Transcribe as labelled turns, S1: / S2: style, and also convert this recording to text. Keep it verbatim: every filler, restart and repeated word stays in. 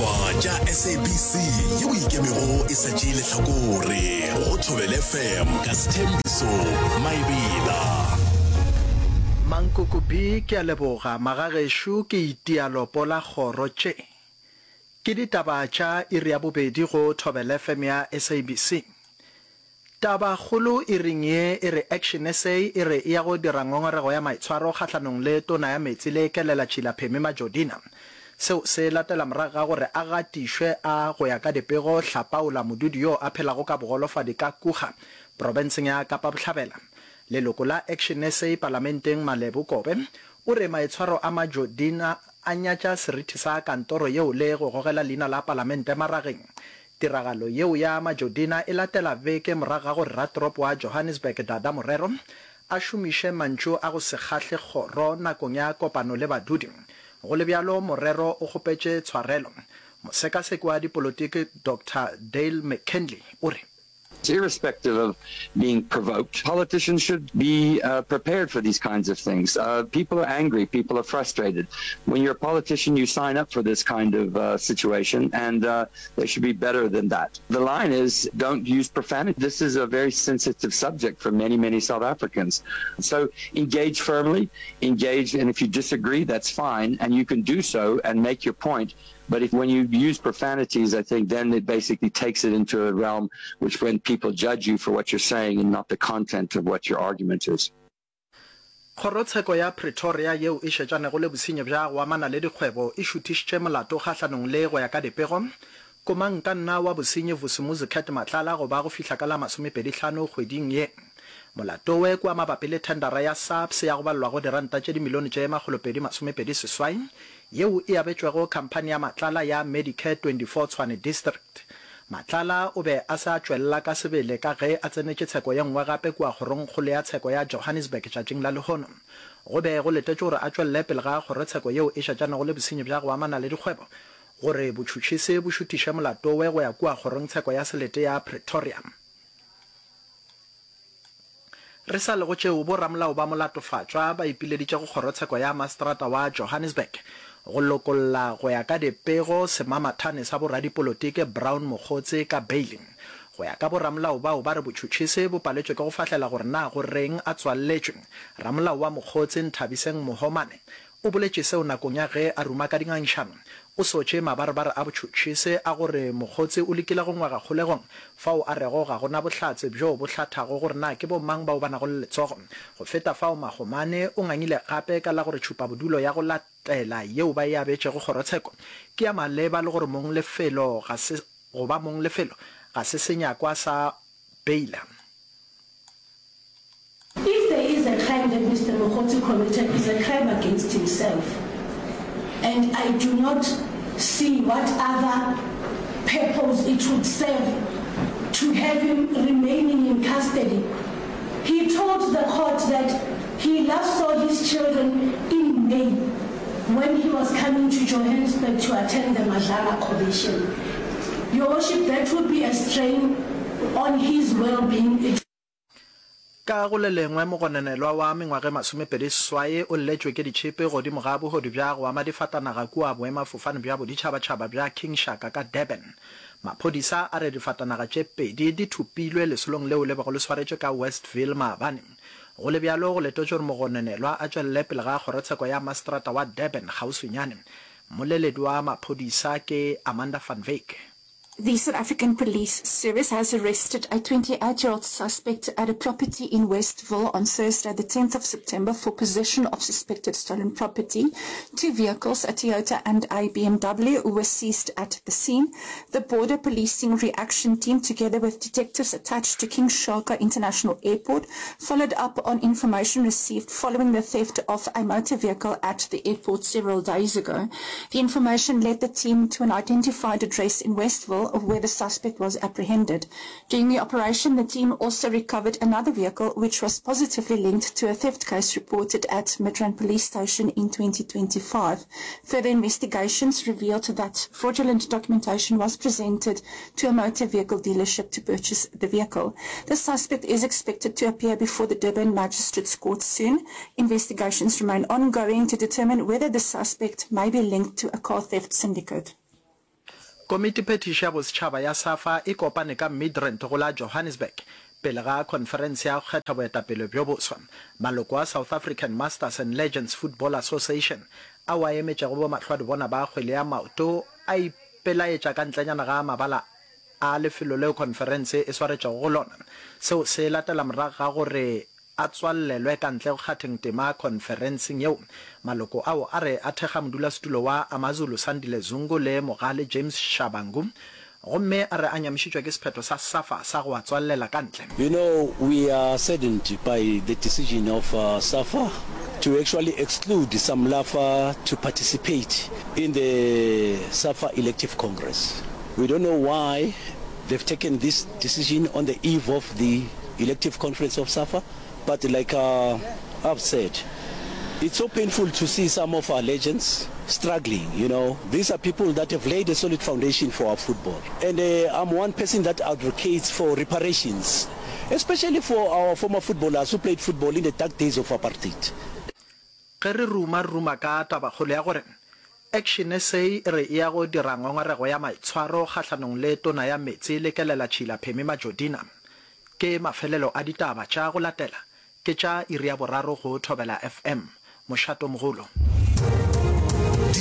S1: Ditaba tša S A B C yeo ikemego e sa tšee lehlakore go Thobela F M ka Sethembiso Maebela.
S2: Mankoko B, Ke a leboga magagešo ke itia lopo la kgoro tše. Ke ditaba tša iri ya bobedi go Thobela F M ya S A B C. Tabakgolo iring ye e re Action S A e re e ya go dira ngongorego ya maitshwaro kgahlanong le Tona ya Meetse le Kelelatšhila Phemi Majodina. Seo se latela morago ga gore a gatišwe a go ya ka dipego hlapaola modudi yo a phelago ka bogolofadi ka Kouga, profenseng ya Kapa Bohlabela. Leloko la Action S A palamenteng Malebo Kobe o re maitshwaro a Majodina a nyatša seriti sa kantoro yeo le go gogela leina la palamente marageng. Tiragalo yeo ya Majodina e latela beke morago ga gore ratoropo wa Johannesburg Dada Morero a šomiše mantšu a go se kgahle kgoro nakong ya kopano le badudi. Go le bjalo Morero o kgopetše tshwarelo. Mosekaseki wa dipolotiki Doctor Dale McKinley o re.
S3: Irrespective of being provoked, politicians should be uh, prepared for these kinds of things. Uh, people are angry, people are frustrated. When you're a politician, you sign up for this kind of uh, situation, and uh, they should be better than that. The line is, don't use profanity. This is a very sensitive subject for many, many South Africans. So engage firmly, engage, and if you disagree, that's fine, and you can do so and make your point. But if when you use profanities, I think then it basically takes it into a realm which when people judge you for what you're saying and not the content of what your argument is.
S2: Kgorotsheko ya Pretoria yeo e šetšanego le bosenyi bja go amana le dikgwebo e šuthišitše molato kgahlanong le go ya ka dipego komangkanna wa bosenyi Vusimuzi Cat Matlala go ba go fihla ka la masomepedi hlano kgweding ye. Molato we kua mabapi le thendara ya SAPS ya go balelwa go diranta tše dimilione tše makgolopedi masomepedi seswai yeo e abetšwego khamphani ya Matlala ya Medicare twenty-four Tshwane District. Matlala o be a se a tšwelela ka sebele ka ge a tsenetše tsheko ye nngwe gape kua kgorongkgolo ya tsheko ya Johannesburg tšatšing la lehono. Go be go letetšwe gore a tšwelele pele ga kgorotsheko yeo e šetšanego le bosenyi bja go amana le dikgwebo gore botšhotšhisi bo šuthiše molato we go ya kua kgorongtsheko ya selete ya Pretoria. Re sa le go tšeo, boramolao ba molatofatšwa ba ipileditše go kgorotsheko ya maseterata wa Johannesburg go lokolla go ya ka dipego semamathane sa boradipolotiki Brown Mogotsi ka beili. Go ya ka boramolao bao ba re botšhotšhisi bo paletšwe ke go fahlela gore na go reng a tswalletšwe. Ramolao wa Mogotsi Nthabiseng Mohomane o boletše seo nakong ya ge a ruma ka dingangišano. O sotše mabarebare a botšhotšhisi a gore Mogotsi o lekile go ngwega kgolegong fao a rego ga go na bohlatse bjo bo hlathago gore na ke bomang bao ba nago le letsogo. Go feta fao Mahomane o ngangile gape ka la gore tšhupabodulo ya go latela yeo ba e abetšego kgorotsheko ke ya maleba le gore mong lefelo ga se go ba mong lefelo ga se senyakwa sa beila.
S4: If there is a crime that Mister Mogotsi committed, it's a crime against himself and I do not see what other purpose it would serve to have him remaining in custody. He told the court that he last saw his children in May when he was coming to Johannesburg to attend the Madlanga Commission. Your Worship, that would be a strain on his well-being. It
S2: Ka go le lengwe, mogononelwa wa mengwaga e masomepedi seswai o lletšwe ke ditšhipi godimo ga bohodu bja go ama difatanaga kua boemafofane bja boditšhabatšhaba bja King Shaka ka Durban. Maphodisa a re difatanaga tše pedi di thopilwe lesolong leo le bego le swaretšwe ka Westville maabane. Go le bjalo, go letetšwe gore mogononelwa a tšwelele pele ga kgorotsheko ya maseterata wa Durban kgauswinyane. Mmoleledi wa maphodisa ke Amanda van Wyk.
S5: The South African Police Service has arrested a twenty-eight year old suspect at a property in Westville on Thursday, the tenth of September, for possession of suspected stolen property. Two vehicles, a Toyota and a B M W, were seized at the scene. The Border Policing Reaction Team, together with detectives attached to King Shaka International Airport, followed up on information received following the theft of a motor vehicle at the airport several days ago. The information led the team to an identified address in Westville where the suspect was apprehended. During the operation, the team also recovered another vehicle which was positively linked to a theft case reported at Midrand Police Station in twenty twenty-five. Further investigations revealed that fraudulent documentation was presented to a motor vehicle dealership to purchase the vehicle. The suspect is expected to appear before the Durban Magistrates Court soon. Investigations remain ongoing to determine whether the suspect may be linked to a car theft syndicate.
S2: Komitiphethiši ya Bosetšhaba ya SAFA e kopane ka Midrand go la Johannesburg pele ga khonferense ya go kgetha boetapele bjo boswa. Maloko a South African Masters and Legends Football Association ao a emetšego bomahlwadibona ba kgwele ya maoto a ipelaetša ka ntlenyana ga mabala a lefelo leo khonferense e swaretšego go lona. Seo se latela morago ga gore a tswallelwe ka ntle go kgatheng tema khonferenseng yeo. Maloko ao a re a thekga modulasetulo wa AmaZulu Sandile Zungu le Mogale James Shabangu gomme a re a nyamišitšwe ke sephetho sa SAFA sa go a tswallela ka ntle.
S6: You know, we are saddened by the decision of SAFA to actually exclude SAMLAFA to participate in the SAFA elective congress. We don't know why they've taken this decision on the eve of the elective conference of SAFA, but like uh, I've said, it's so painful to see some of our legends struggling, you know. These are people that have laid a solid foundation for our football. And uh, I'm one person that advocates for reparations, especially for our former footballers who played football in the dark days of apartheid.
S2: Ge re ruma, re ruma ka tabakgolo ya gore Action SA e re e ya go dira ngongorego ya maitshwaro kgahlanong le Tona ya Meetse le Kelelatšhila Phemi Majodina. Ke mafelelo a ditaba tša go latela ke tša iri ya boraro go Thobela F M. Mošatomogolo.